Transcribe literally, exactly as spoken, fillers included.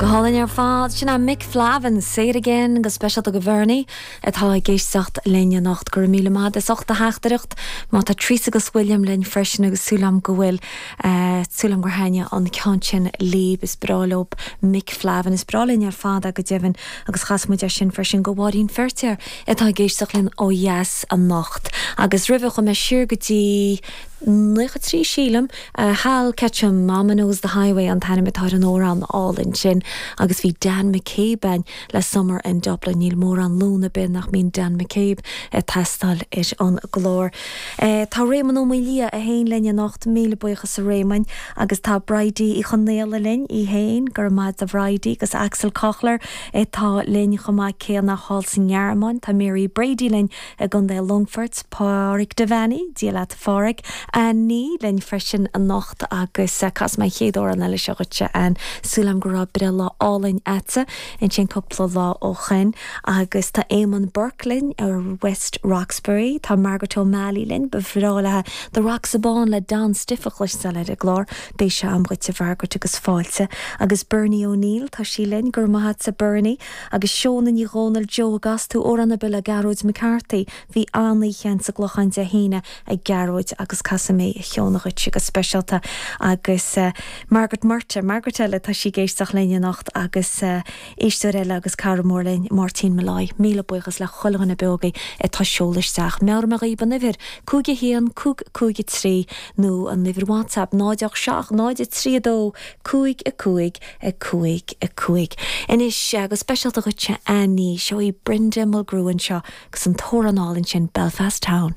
Go hálainn ar fad sin é Mick Flavin Say It Again go speisialta do Bhernie atá ag éisteacht linn anocht go raibh míle maith as ucht do theachtaireacht má tá Teresa agus William linn freisin agus súil agam go bhfuil uh, súil agam gur thaitin an ceann sin libh is breá leo Mick Flavin is breá linn ar fad go deimhin agus chas muid é sin freisin go Mháirín Feirtéar atá ag éisteacht linn ó dheas anocht agus roimhe chuaigh mé siar go dtí Naocha trí sílim uh, Hal Ketchum Mama Knows the Highway an t-ainm atá ar an amhrán álainn sin agus bhí Dan McCabe ann le Summer in Dublin níl mórán Luan ar bith nach mbíonn Dan McCabe ag teastáil ar an gclár. E, tá Réamonn Ó Maoildhia é féin linn anocht míle buíochas a Réamoinn agus tá Bridie Uí Chonaola linn í féin gur maith a Bhridie agus Axel Kochler atá linn chomh maith céanna thall sa nGearmáin tá Mary Brady linn i gContae Longfoirt Pádraig Devaney Dia leat Phádraig Annie linn freisin anocht agus cas mé chéad amhrán eile seo dhuitse an súil agam go raibh breithlá álainn agatsa ansin cúpla lá ó shin agus tá Eamon Burke linn ar West Roxbury tá Margaret O'Malley linn ba bhreá léi The Rocks Abán le Don Stiffe a chloisteáil ar an gclár beidh sé agam dhuit a Mhargaret agus fáilte agus Bernie O'Neill tá sí linn gur maitse Bernie agus Seona Ní Dhomhnaill Joe agus tú amhrán ar bith le Gearóid McCarthy bhí an-oíche sa gClochán Dé hAoine ag Gearóid agus casfaidh mé a cheann dhuit go speisialta agus uh, Margaret Murta Margaret eile tá sí ag éisteacht linn anocht agus uh, éisteoir eile agus cara mór linn Martin Malloy míle buíochas le chuile dhuine beogaí atá ag seoladh isteach. Meabhraigh mé dhaoibh an uimhir cúig a haon cúig cúig trí nó an uimhir WhatsApp náid seacht náid trí dó cúig a cúig a cúig a cúig. Anois agus speisialta dhuitse Annie seo í Brenda Mulgrew anseo agus an t-amhrán álainn sin Belfast Town.